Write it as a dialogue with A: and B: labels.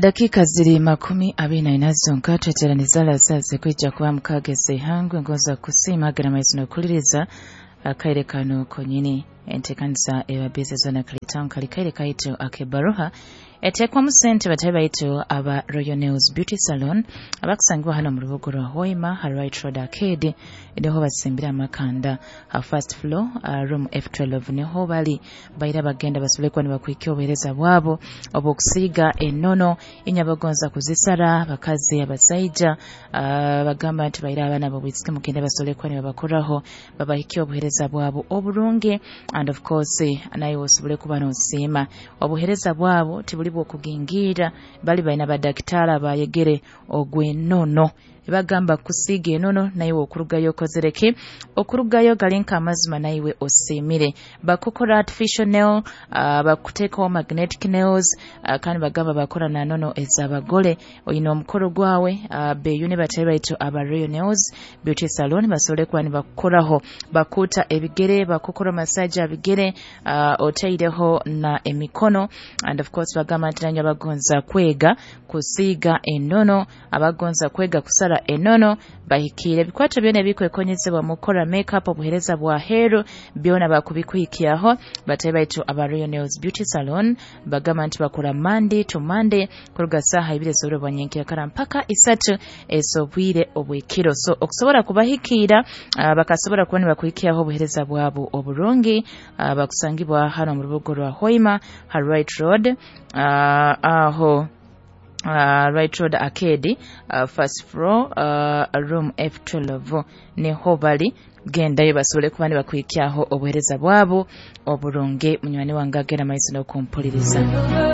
A: Dakika ziri 24 zonka tweteraniza zaze kwijja kuba mukageze ihangwe ngoza kusiima agera maizi nokuliriza akaire kano konyini entekanisa ebabize zona kalitown kali kaire kaitu akebaroha etekwamu sente batabe baitu aba Royal Nails Beauty Salon abakusangibwa hano mu rubuga rwa Hoima ha Right Road Arcade, niho basimbira amakanda ha first floor, room F12 niho bali. Baira bagenda basobole kuba nibakuhikia obuheereza bwabo obw'okusiiga enono inyabagonza kuzisara bakazi abasaija. Bagamba nti baira abaana bobwisiki mugende basobole kuba nibabakoraho babahikia obuheereza bwabo oburungi, and of course naye osobole kuba nosiima obuheereza bwabo tibuli bwokugingira. Bali balina badakitari abayegere ogw'enono, bagamba kusiiga enono naiwe okurugayo okozereki okurugayo gali nk'amazima naiwe osiimire. Bakukora artificial nail, bakuteekaho magnetic nails, kandi bagamba bakora na nono ez'abagole. Oyina omukoro gwawe, beyune batebe baitu aba Royal Nails Beauty Salon basobole kuba nibakukoraho, bakuta ebigere, bakukora massage abigere, oteireho na emikono. And of course bagamba nti nanywe abagonza kwega kusiiga enono, abagonza kwega kusara enono, bahikiire ebikwato byona ebikwekonyezebwa mu kukora makeup, obuheereza bwa heeru byona bakubikuhikyaho batebe baitu aba Royal Nails Beauty Salon. Bagamba nti bakora Monday to Monday kuruga saaha 2 ez'obwire bwa nyenkyakara mpaka 3 ez'obwire obw'ekiro. So okusobora kubahikiira, bakasobora kuba nibakuhikyaho obuheereza bwabo oburungi, bakusangibwa hano mu rubuga rwa Hoima ha Right Road, aho Right Road Arcade, first floor, room F12 niho bali. Gendayo basobole kuba nibakuhikyaho obuheereza bwabo oburungi. Munywani wange agera maizi n'okumpuliriza.